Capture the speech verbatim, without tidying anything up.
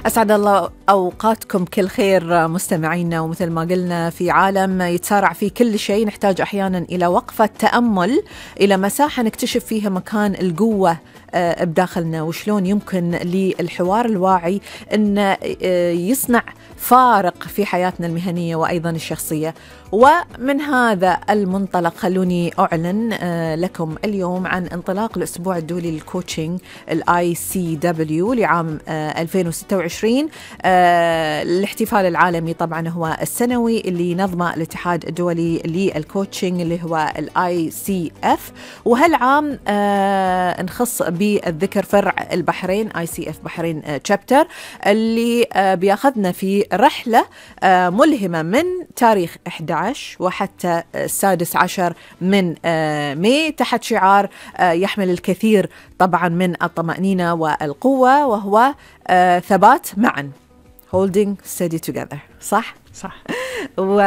أسعد الله أوقاتكم كل خير مستمعينا. ومثل ما قلنا في عالم يتسارع فيه كل شيء نحتاج أحيانا إلى وقفة تأمل، إلى مساحة نكتشف فيها مكان القوة بداخلنا، وشلون يمكن للحوار الواعي أن يصنع فارق في حياتنا المهنية وأيضا الشخصية. ومن هذا المنطلق خلوني أعلن لكم اليوم عن انطلاق الأسبوع الدولي للكوتشنج الآي سي دبليو لعام ألفين وستة وعشرين. الاحتفال العالمي طبعا هو السنوي اللي نظمه الاتحاد الدولي للكوتشنج اللي هو الآي سي إف، وهالعام نخص بالذكر فرع البحرين آي سي إف بحرين تشابتر اللي بياخذنا في رحلة ملهمة من تاريخ أحد عشر وحتى السادس عشر من ماي تحت شعار يحمل الكثير طبعا من الطمأنينة والقوة، وهو ثبات معا holding steady together. صح؟ صح. و